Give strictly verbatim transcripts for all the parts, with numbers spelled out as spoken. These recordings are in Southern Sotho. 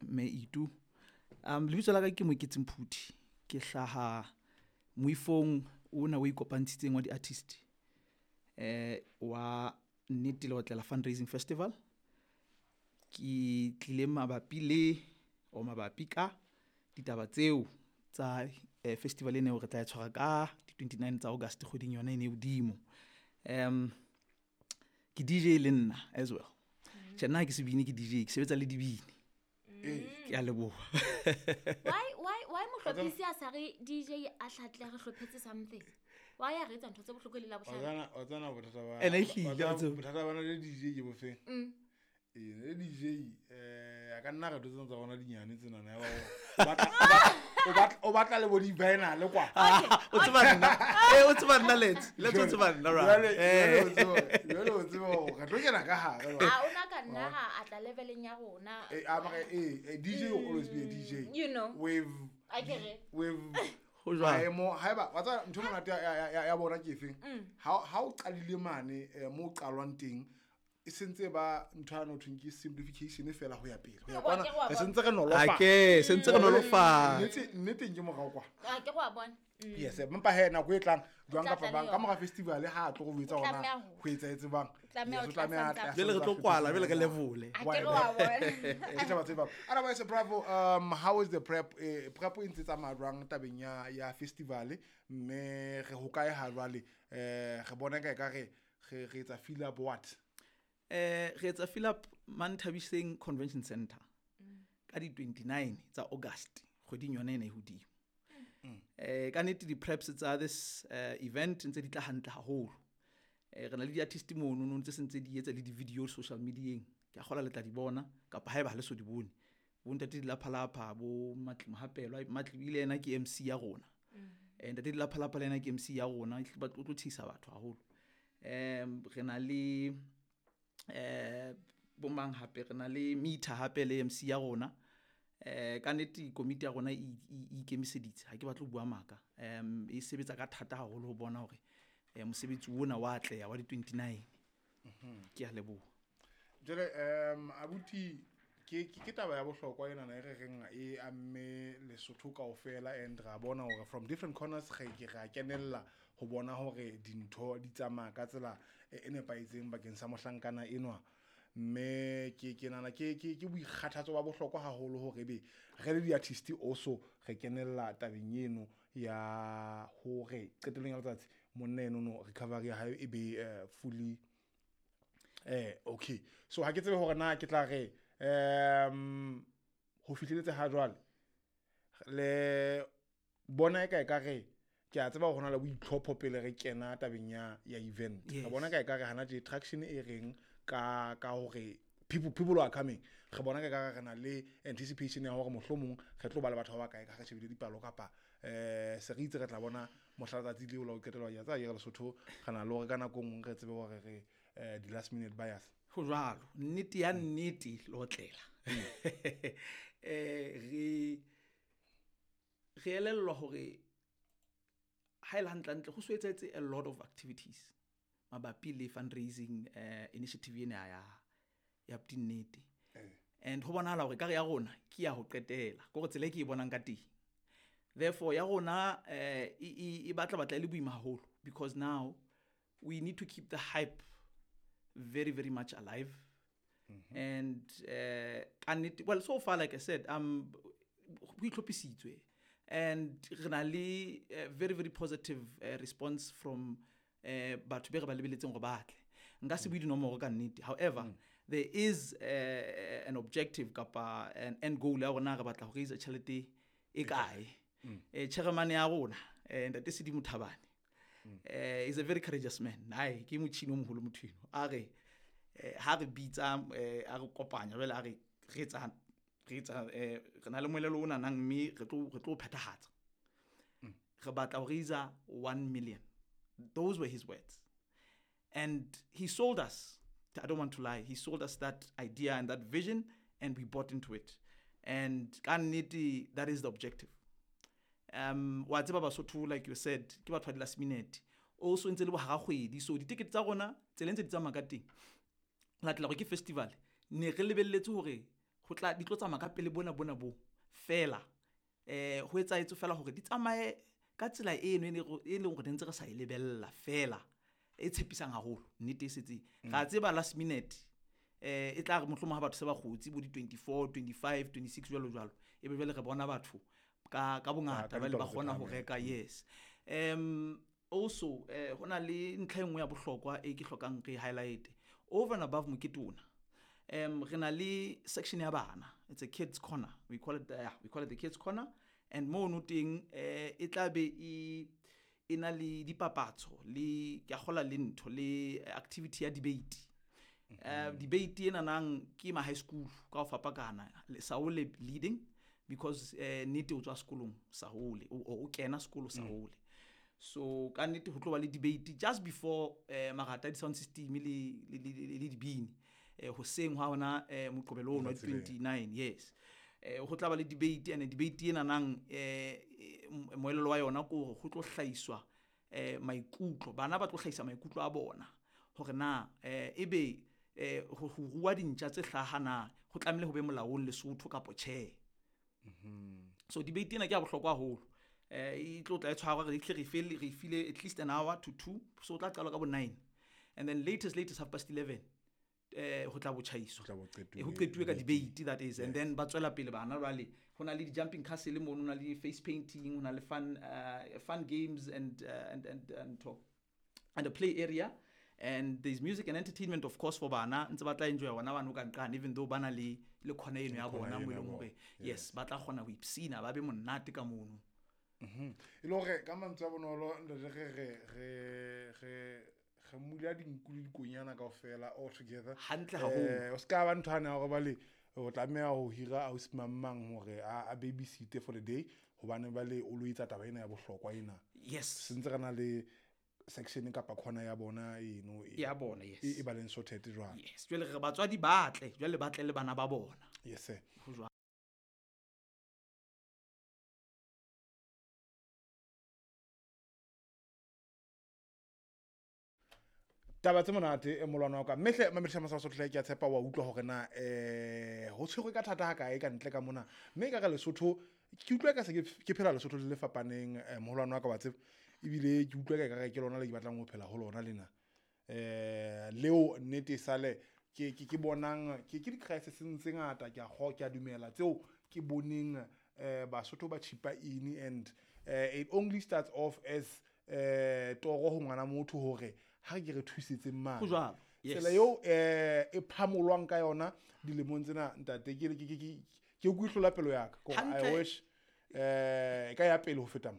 Mme Itu. Um lebitso la ka ke Moeketsi Mphuthi. Ke hlaha moifong ona o ikopantshitseng wa di-artist. Eh wa Nnete Leotlela Fundraising Festival. Ke tlile mabapi le o mabapi ka ditaba tseo tsa eh, festival ena eo re tla e tshwara ka di twenty-nine tsa August kgweding yona ena e hodimo. Um ke D J le nna as well. Tjhe, nna ha ke sebini, ke D J, ke sebetsa le dibini. Ke a leboha. why why why mohlophisi a sa re D J a hlatle re hlophetse something? Why a re etsa ntho tse bohloko le la Wa bohlano? tsana- wa tsana bothata ba Ene ehlile, wa tsana wa tseba. Bothata bana le D J ke bofeng? Mm. Ee, le D J eh a ka nna re tlo tsena tsa rona dinyane tsenana ya ba o batla- o batla- o batla- o batla le bo di-vinyl kwa. O tseba nna, eh o tseba nna, let's let's o tseba nna ra. Jwale- jwale o Eh tseba- jwale o tseba hore re tlo kena ka hare jwale. A ona ka nna ha a tla leveleng ya rona. Eh, ah, mara, eh, eh, D J will always be a D J. You know. With Akere. With Ho jwalo. maemo haeba wa tseba ntho e monate ya- ya- ya ya bona ke efeng? Mm. Ha ha o qalile mane eh, mo o qalwang teng, e sentse ba ntho ya no thweng ke simplification fela ho ya pele ho ya Wa kwana, ke wa re bona. sentse re nolofatsa. Ake sentse re nolofatsa. Nnete- nneteng ke morao kwa. A ke go a bona. Mm. Yes, empa he nako e tlang jwang tla kapa tla le bang ka yona. mora festival ha a tlo go etsa O hona tlameha ho. ho etsahetse bang. Tlameha Yes, ho o tlameha tla a tle a santsa. Jwale re tlo santsa kwala, jwale re festival. levole. A ke re wa bona. Ke taba tse bang. Otherwise, Bravo, um how is the prep? eh, prep e ntse tsamaya jwang tabeng ya ya festival, mme re ho kae ha jwale? eh re bona ka e ka re re re etsa fill up what? Eh re etsa fill up Manthabiseng Convention Center ka di twenty-nine tsa August kgweding yona ena e hodimo. Eh ka nnete di preps tsa this uh, event ntse di tla hantle haholo. Eh re na le di-artist mono no tse sentse di etsa le di-video social medieng. Ke a kgola le tla di bona kapa haeba ha le so di bone. Bo ntate Dilaphalapha, bo Matli Mohapelwa, Matli ile ena ke M C ya rona. Eh ntate Dilaphalapha le ena ke M C ya rona, ba tlo tlo thisa batho haholo. Em re na le eh bo mang hape, re na le Meter hape le M C ya rona. Eh ka nnete komiti ya rona e e e ikemiseditse, ha ke batle ho bua maka. Em e sebetsa ka thata haholo ho bona hore eh mosebetsi ona wa atleha wa di twenty-nine. Ke a leboha. Jwale um abuti, ke ke ke taba ya bohlokwa ena na e re reng e amme Lesotho kaofela, and ra bona hore from different corners re ke ra kenella ho bona hore dintho di tsamaya ka tsela e e nepahetseng bakeng sa mohlankana enwa, mme ke ke nahana ke ke ke boikgathatso ba bohlokwa haholo hore ebe re le di-artist also re kenella tabeng eno ya hore qetellong ya letsatsi monna eno no recovery ya hae e be eh, fully eh okay. So ha ke tsebe hore na ke tla re um ho fihleletse ha jwale le bona e ka e ka re ke a tseba hore ho na le boitlhopho pele re kena tabeng ya ya event. Re Yes. bona ka e ka re hana tje traction e reng ka ka hore people people are coming? Re bona ka e ka re re na le anticipation ya hore mohlomong re tlo ba le batho ba bakae ka re shebile dipalo, kapa eh se re itse re tla bona mohla letsatsi leo la ho qetela ya tsa ye re Lesotho re na le hore ka nako e nngwe re tsebe hore re eh di last minute buyers? Ho jwalo, nnete ya nnete leotlela. Eh re re elellwa hore ha ele hantle hantle ho so etsahetse a lot of activities mabapi le fundraising eh initiative ena ya ya Nnete. And ho bonahala hore kare ya rona ke ya ho qetela, ke hore tsela e ke e bonang ka teng. Therefore ya rona eh e e- e batla batla e le boima haholo because now we need to keep the hype very, very much alive. And uh ka nnete, well, so far, like I said, um ho itlhophisitswe and re na le uh, very, very positive uh, response from uh, batho be re ba lebeletseng hore ba tle. Nka se bue dinomoro ka nnete. However, there is uh, an objective kapa an end goal ya rona, re batla ho raise tjhelete e kae. Eh chairman ya rona, eh ntate Sedimo Thabane, eh is a very courageous man. Ai ke motjhini o moholo motho eno. A re eh, ha re bitsa, eh, a re kopanya jwale, a re re etsa re etsa eh, re na le moelelo o nanang, mme re tlo re tlo o phethahatsa. Re batla ho raise one million. Those were his words. And he sold us, I don't want to lie, he sold us that idea and that vision, and we bought into it. And ka nnete, that is the objective. Um wa tseba Basotho, like you said, ke batho ba di last minute. Also ntse le bohara kgwedi, so ditikete tsa rona tsela e ntse di tsamaya ka teng, latela hore ke festival, ne re lebelletse hore Ho tla di tlo tsamaya ka pele bona bona bo fela. Eh ho etsahetse fela hore di tsamaye ka tsela eno e ne e leng hore ne ntse re sa e lebella fela e tshepisang haholo nnete e setseng. Ra tseba last minute eh e tla re mohlomong ha batho se ba kgotsi bo di twenty-four, twenty-five, twenty-six jwalo jwalo. Ebe jwale re bona batho ka ka bongata ka jwale ba ditaba tse kgona ho phahameng. reka yes. Um also eh hona le ntlha e nngwe ya bohlokwa e ke hlokang re highlight over and above mokete ona. Um re na le section ya bana, it's a kids corner, we call it, uh, we call it the kids corner, and mono teng eh e tla be e e na le dipapatso le ke a kgola le ntho le activity ya debate. Uh, debate ena nang ke ma high school ka ho fapakana, Saole leading because eh nnete o tswa sekolong Saole o o kena sekolo Saole. So ka nnete ho tlo ba le debate just before eh marata di sound system le le le le dibini eh hoseng ha hona eh moqobelo ono Letsatsi leo. twenty-nine yes. Eh ho tla ba le debate, and debate ena nang eh moelelo wa yona ke hore ho tlo hlahiswa eh maikutlo, bana ba tlo hlahisa maikutlo a bona hore na eh ebe eh ho ho rua dintja tse hlaha na ho tlamehile ho be molaong Lesotho kapa tjhe. So debate ena ke ya bohlokwa haholo. Eh e tlo tla e tshwarwa re tle re fele re file at least an hour to two, so o tla qala ka bo nine and then latest latest half past eleven eh ho tla bo tjhaiswa. Ho tla bo qetuwe Eh, ho qetuwe ka debate. debate that is, and then ba tswela pele bana jwale ho na le di jumping castle mono, ho na le face painting, ho na le fun, uh, fun games and, uh, and, and, and talk and a play area, and there's music and entertainment of course for bana ntse ba tla enjoy bona bana ka nqane, even though bana le le khona eno ya Khona bona eno mo ya eleng bona. hore yes ba tla kgona ho ipsina ba be monate ka mono. Mhm. E le hore ka mantswe a bonolo ntate re re re re re mula dinku le dikonyana kaofela all together. Hantle haholo. Eh o ska ba ntho ane ya hore bale o tlameha ho hira ausi mang mang hore a a babysite for the day hobane bale o lo etsa taba ena ya bohlokwa ena. Yes. Sentse re na le section kapa corner ya bona eno e Ya bona yes. e e ba leng sorted jwang. Yes, jwale re batswadi ba tle, jwale ba tle le bana ba bona. Yes sir. Ho jwalo. Taba tse monate e molwana wa ka mme hle mamedisa masa Sotho ke a tshepa wa utlwa hore na eh ho tshwerwe ka thata ha kae ka ntle ka mona mme ka re Lesotho ke utlwa ka se ke ke phela Lesotho le le fapaneng eh, moholwane wa ka wa tseba ebile ke utlwa ka ekare ke lona le ke batlang ho phela ho lona lena eh leo nnete e sale ke ke ke bonang ke ke di-crisis tse ngata ke a kgo ke a dumela tseo ke boneng eh Basotho ba chipa ini and eh, it only starts off as eh toro ho ngwana motho hore ha ke re thusetseng mane Ho jwalo. Yes. Tsela eo eh e phamolwang ka yona dilemong tsena ntate ke ke ke ke ke utlwa pelo ya ka I Hantle. wish eh e ka ya pele ho feta mo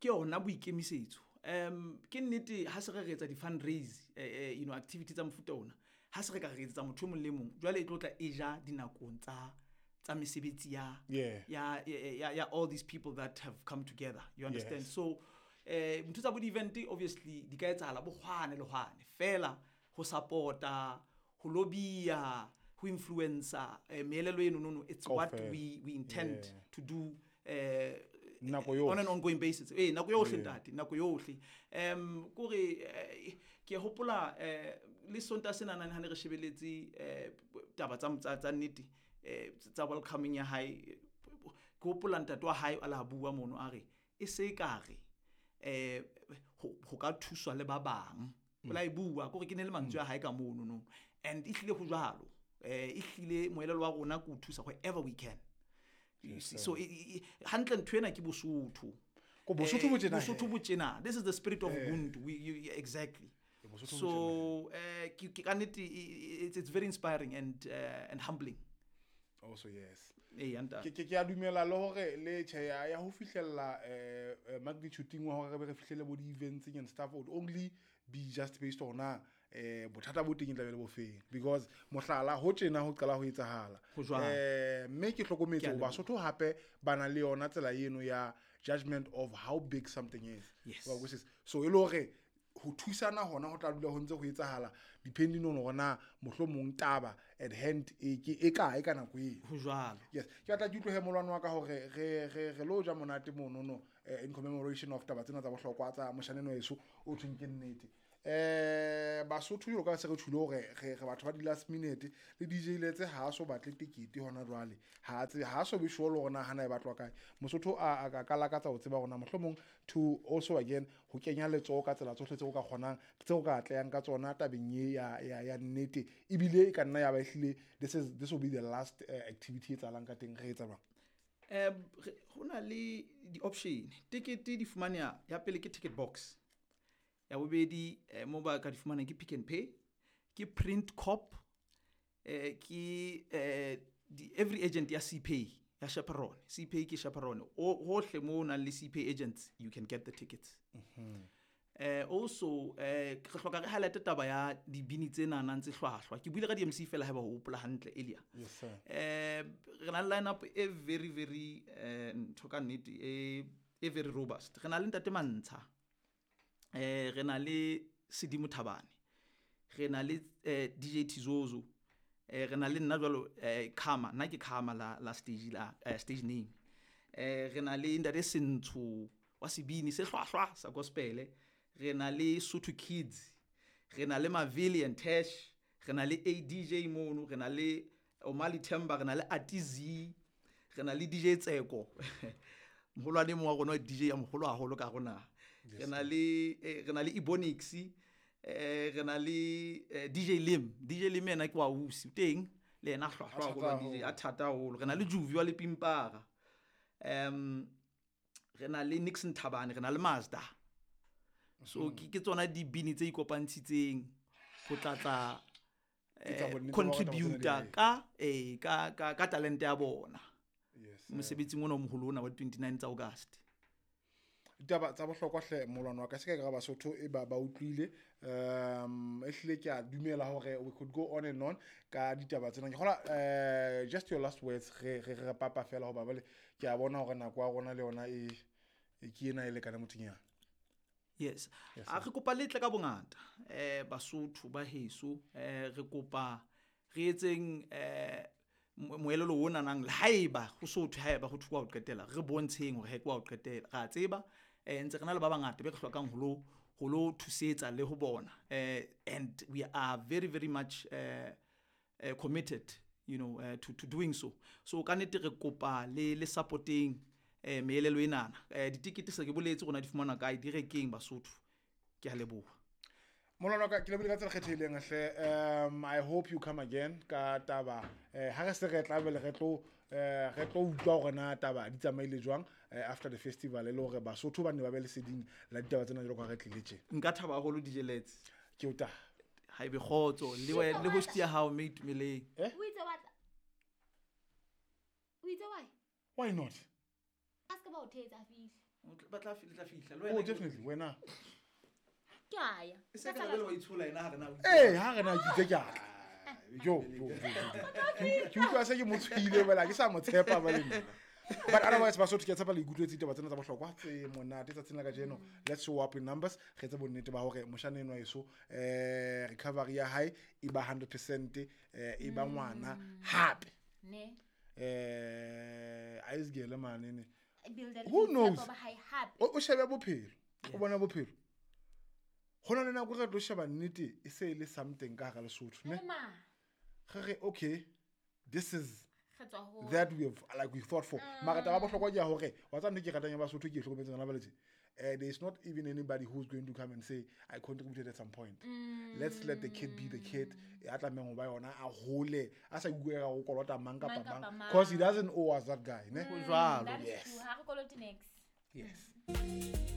Ke yona boikemisetso. Um ke nnete ha se re re etsa di-fundraise eh, eh, you know activity tsa mofuta ona, ha se re ka re etsetsa motho e mong le mong jwale e tlo tla e ja dinakong tsa tsa mesebetsi ya Yeah. ya, ya, ya, ya all these people that have come together, you understand? Yes. So eh ntho tsa bo di-event obviously di ka etsahala bo hwane le hwane fela ho support-a, ho lobby-a, ho influencer eh, meelelo eno nono, it's what Kaofela. we, we intend Yeah. to do eh Nako on an yohle. ongoing basis. Eh nako yohle Yeah. ntate, nako yohle. Um kore eh, ke hopola eh le Sontaha sena nane ha ne re shebeletse eh taba tsa tsa tsa nnete eh tsa welcoming ya hae, ke hopola ntate wa hae a la bua mono a re e se ekare eh ho ho ka thuswa le ba bang. O la e bua kore ke ne le mantswe a hae ka mono no, and e hlile ho jwalo. Eh e hlile moelelo wa rona ke ho thusa wherever we can. You see, so e- e- hantle ntho ena ke Bosotho. Ko Bosotho bo Eh, tjena Bosotho he. bo tjena. This is the spirit of Eh. Ubuntu. We, you, yeah, exactly. Bosotho bo So eh ke ke ka nnete e- e- it's, it's very inspiring and uh, and humbling. Also yes. Eh ntate. Ke ke ke a dumela le hore le tjhe ya ya ho fihlella eh eh, magnitude wa hore re be re fihlele bo di-events and stuff would only be just based on na eh bothata bo teng e tla be le bofeng because mohlala ho tjena ho qala ho etsahala Ho jwalo. eh mme ke hlokometse Ke a hore leboha. Basotho hape ba na le yona tsela eno ya judgment of how big something is. Yes. Wa utlwisisa? So e le hore ho thusana hona ho tla dula ho ntse ho etsahala depending on hore na mohlomong taba at hand e ke e kae ka nako eo. Ho jwalo. Yes, ke batla ke utlwe molwana wa ka hore re re re lo ja monate monono eh, in commemoration of taba tsena tsa bohlokwa tsa moshaneno heso o thweng ke nnete. Eh Basotho jwalo ka se re tjhule hore re re batho ba di last minute le D J Letse ha so batle tekete hona jwale, ha tse ha so be sure le hore na hana e batlwa kae. Mosotho a a ka lakatsa ho tseba hore na mohlomong to also again ho kenya letsoho ka tsela tsohle tseo ka kgonang, tseo ka atlehang ka tsona tabeng e ya ya ya nnete, ebile e ka nna ya ba ehlile this is this will be the last uh, activity e tsalang ka teng, re etsa jwang? um ho na le di-option. Tekete di fumaneha, ya pele ke ticket box, ya bobedi eh, mo ba ka di fumanang ke Pick and Pay, ke Print Cop, eh, ke eh, di, every agent ya C Pay, ya Chaperon. C Pay ke Chaperon. O hohle mo o nang le C Pay agents, you can get the tickets. eh also eh re hloka re highlight taba ya dibini tse nanang tse hlwahlwa. Ke buile ka di-M C fela haeba ho hopola hantle earlier. Yes sir. eh re na le line-up e very very eh ntho ka nnete e e very robust. Re na le Ntate Mantsha, eh re na le Sedimo Thabane, re na le eh, D J Tizozo, eh re na le nna jwalo, eh Khama, nna ke Khama la la stage, la eh, stage name. eh re na le Ntate Sentsho wa sebini se hlwahlwa sa gospel, re na le Sotho Kids, re na le Mavili and Tash, re na le A D J mono, re na le Omali Themba, re na le Atizi, re na le D J Tseko, moholwane mong wa rona wa D J ya moholo haholo ka rona. Re na le eh, re na le Ebonix, eh re na le eh, D J Lim. D J Lim ena ke wa usi o teng le yena, hlwahlwa haholo wa D J a thata haholo. Re na le Juvi wa Lepimpara, um re na le Nixon Thabane, re na le Mazda. So ke ke tsona dibini tse ikopantshitseng ho tlatla Ke tsa eh, bonnete ba hore taba tsena di contributor a ka eh ka ka ka talente ya bona yes sir. mosebetsing ona o moholo ona wa twenty-nine tsa August. Ditaba tsa bohlokwa hle, molwana wa ka. Se ka ka Basotho e ba ba utlwile. um ehlile ke a dumela hore we could go on and on ka ditaba tsena. Ke kgola eh just your last words, re re re papa fela, hoba bale ke a bona hore nako ya rona le yona e e ke ena e lekane mothonyana. Yes. Yes, A re kopa letle ka bongata, eh Basotho ba heso. eh re kopa re etseng eh mo- moelelo o nanang le haeba ho sotho, haeba ho thwe wa ho qetela, re bontsheng hore he ke wa ho qetela. Ra tseba eh ntse re na le ba bangata be re hlokang ho lo ho lo thusetsa le ho bona, eh and we are very very much eh uh, committed you know uh, to to doing so. So ka nnete re kopa le le supporting eh meelelo enana. eh ditikete se ke boletse rona di fumana kae, di rekeng Basotho. Ke a leboha. Molwana wa ka, ke lebohile ka tsela kgethehileng hle. um I hope you come again ka taba eh ha re se re tla bele re tlo eh re tlo utlwa hore na taba di tsamaile jwang eh, after the festival, e le hore Basotho ba ne ba be leseding la ditaba tsena jwalo ka ha re tlile tje. Nka thaba haholo, D J Lets. Ke o ta Ha ebe kgotso le wena le host ya hao mme Itumeleng. Eh? O itse wa tla, o itse why? Why not? A se ka ba o thetsa, a fihle. Ba tla fi- le tla fihla le Oh, wena. definitely wena. Ke a ya. E se ka jwale wa itshola ena ha re na. Ee, ha re na ke itse ke a tla. Jo jo jo, jo, jo. Ke utlwa se ke mo tshohile bela ke sa mo tshepa ba le nna. But otherwise Basotho, ke a tshepa le ikutlwetse ditaba tsena tsa bohlokwa tse monate tsatsing la kajeno. Let's show up in numbers, re etse bonnete ba hore moshana enwa eso eh recovery ya hae e ba hundred percent, eh e ba ngwana hape. Ne. eh aisgele mane ne. Builda le Who boitshepo knows? ba hae hape. O o shebe bophelo, o bona bophelo ho na le nako re tlo sheba nnete e se e le something ka hara Lesotho ne. Le ma Re re okay, this is re tswa ho that we have like we thought for. Mara taba ya bohlokwa ke ya hore wa tseba ntho e ke ratang ya Basotho, ke e hlokometseng hona jwale tje, eh there is not even anybody who's going to come and say I contributed at some point. Let's let the kid be the kid a tlamehang ho ba yona, a hole a sa ikutlwe ka go kolota mang kapa Mang kapa mang, cause he mang. doesn't owe us, that guy ne. Ho jwalo. That is Yes. true. Ha re kolote next. Yes.